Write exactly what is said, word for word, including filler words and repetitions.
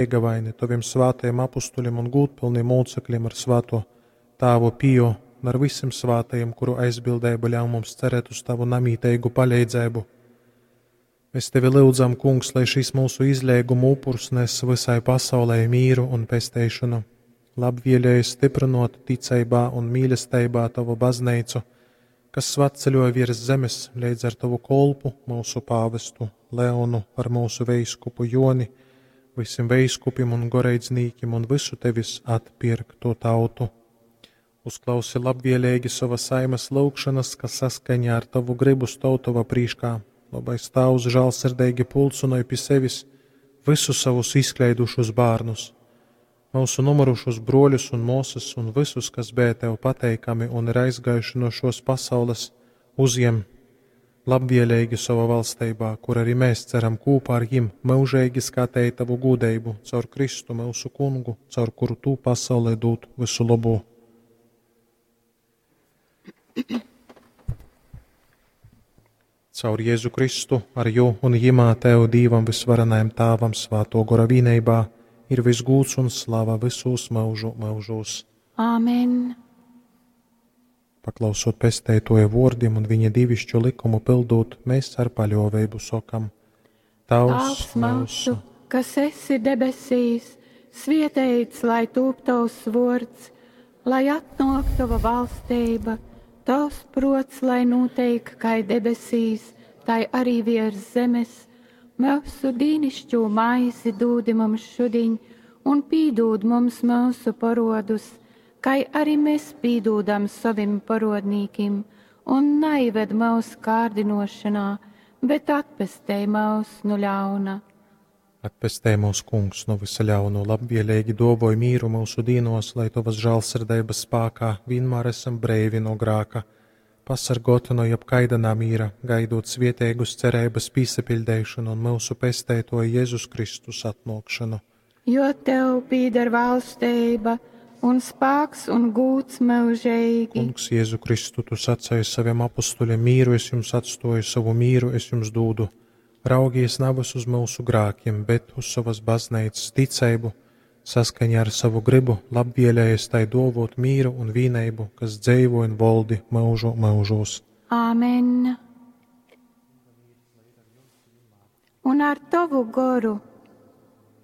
Leigavaini, tovim svātajim apustuļim un gūdpylnim mūcekļim ar svātō tāvu Pio un ar vysim svātajim, kuru aizbildeiba ļaun mums cerēt uz tavu namīteigu paleidzeibu. Mēs tevi lyudzam, Kungs, lai šis mūsu izleiguma upurs nes visai pasaulei mīru un pesteišanu. Labvēlēji stiprinot ticeibā un mīlesteibā tavu bazneicu, kas svatceļoja virs zemes leidz ar tavu kolpu, mūsu pāvestu Leonu, ar mūsu veiskupu Joni, visiem veiskupim un goreidznīkim un visu tevis atpirkto tautu. Uzklausi labvēlīgi savas saimas lūgšanas, kas saskaņā ar tavu gribu stāv tavā prīškā. Labais Tēvs žēlsirdīgi pulcinoj pie sevis visus savus izkleidušus bērnus, mūsu nomirušos broļus un māsas un visus, kas bija tev pateikami un ir aizgājuši no šos pasaules, uzņem labvēlīgi savā valstībā, kur arī mēs ceram kopā ar jim mūžīgi skatīt tavu gudrību caur Kristu mūsu kungu, caur kuru tu pasaulē dod visu labo. Caur Jēzu Kristu, ar jū un jimā tev Dīvam visvarenajam Tāvam svāto gora vīneibā ir visgūts un slava visos mūžu mūžos. Āmen. Paklausot pesteitoja vōrdim un viņa divišķu likumu pildot, mēs ar paļōveibu sokam: Tavs Tēvs mūsu, kas esi debesīs, svietēts lai tūp tavs vārds, lai atnāk tava valstība, tavs prots, lai notiek kā debesīs, tai arī virs zemes. Mūsu dīnišķo maizi dūdi mums šudiņ, un pīdūd mums mūsu parodus, kā arī mēs pīdūdam savim parodnīkim, un neived mūsu kārdinošanā, bet atpestej mūs no ļauna. Atpestej mūs, Kungs, no visa ļauno, labvēlīgi dovoj mīru mūsu dīnos, lai tavas žēlsirdības spākā vienmēr esam breivi no grāka, pasargoti no jebkaida namīra, gaidot svieteigus cerības pīsapildēšanu un mūsu pestētoja Jēzus Kristus atnākšanu. Jo tev pīder valstība un spēks un gūts mūžīgi. Kungs, Jēzu Kristu, tu sacēji saviem apustuļiem mīru es jums atstoju, savu mīru es jums dūdu. Raugies navas uz mūsu grākiem, bet uz savas baznīcas ticību, saskaņā ar savu gribu, labvēlējies tai dovot mīru un vīneibu, kas dzeivo un voldi mūžu mūžos. Āmen. Un ar tavu goru.